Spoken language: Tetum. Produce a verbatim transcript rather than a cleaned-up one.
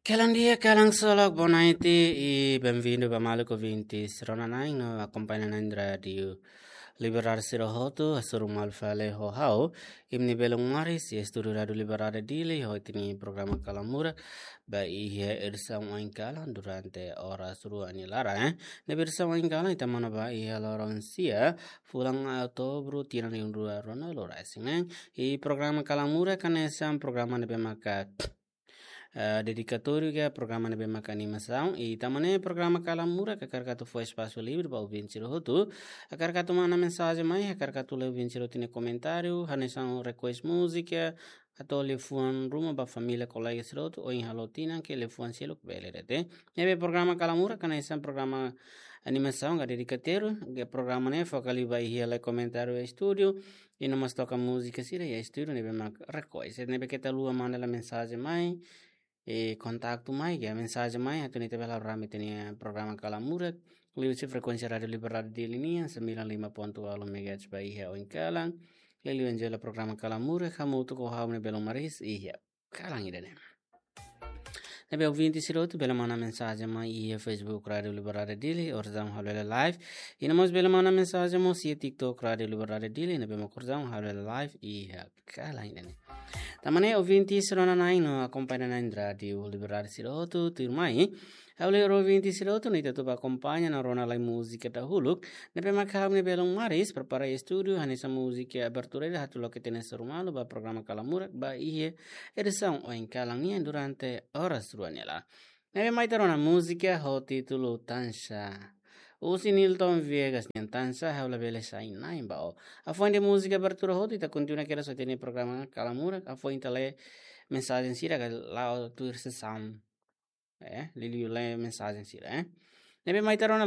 Kalan di'ak, kalan solok, boa noite, i benvindu ba maluk ouvintes rona-na'in no akompaña na'in Rádiu Liberdade sira hotu, hasoru malu fali ho ha'u, imi-nia belun Maris, iha estúdiu Rádiu Liberdade Dili, ho ita-nia programa Kalan Murak, ba iha edisaun oin kalan durante oras rua nia laran, eh. Ne'ebé edisaun oin kalan, ita monu ba iha loron sia, fulan Outubru, tinan rihun rua ruanulu resin, eh. I programa Kalan Murak, hanesan programa ne'ebé maka eh, dedikatóriu ka programa ne'ebé maka animasaun, i tanba ne'e programa Kalan Murak hakarak atu fó espasu livre ba ouvinte sira hotu, hakarak atu manda mensajen mai, hakarak atu lee ouvinte sira hotu nia komentáriu, hanesan request múzika, atu liafuan ruma ba família, kolega sira hotu, ohin halo tinan ka liafuan seluk bele de'it. Ne'ebé programa Kalan Murak hanesan programa animasaun ka dedikatóriu, ka programa ne'e foka liu ba iha lee komentáriu iha estúdiu, i no mós toka múzika sira iha estúdiu ne'ebé mak request. Ne'ebé keta haluha manda lai mensajen mai, i kontaktu mai, ka mensajen mai, atu nune'e ita bele halo rame ita-nia programa Kalan Murak, liuhusi frekuénsia Rádiu Liberdade Dili nian, sembilan lima ponto walu megahertz ba iha oin kalan, liuliu jela programa Kalan Murak, hamutuk ho ha'u-nia belun Maris, iha kalan ida-ne'e. Ne'ebé ouvinte sira hotu bele manda mensajen mai iha Facebook Rádiu Liberdade Dili, orsida halo hela live. I no mós bele manda mensajen mós iha TikTok Rádiu Liberdade Dili, ne'ebé mak orsida halo hela live iha kalan ida-ne'e. Tanba ne'e ouvinte sira rona-na'in no akompaña na'in Rádiu Liberdade sira hotu, tuirmai. Ha'u lee ouvinte sira hotu, nune'e ita atu ba akompaña no rona lai múzika dahuluk. Ne'ebé mak ha'u-nia belun Maris prepara iha estúdiu, hanesan múzika abertura ida atu loke ita-nia hasoru malu ba programa Kalan Murak, ba iha edisaun oin kalan nian durante oras rua nia laran. Ne'ebé mai ita rona múzika ho títulu Tansha. Husi Nilton Viegas nian, Tansha, ha'u labele sai na'in ba ó. Hafoin de'it múzika abertura hotu, ita kontinua kedas ho ita-nia programa Kalan Murak, hafoin ita lee mensajen sira ka la'o tuir sesaun. Eh, liuliu lee mensajen sira, eh. Ne'ebé mai ita rona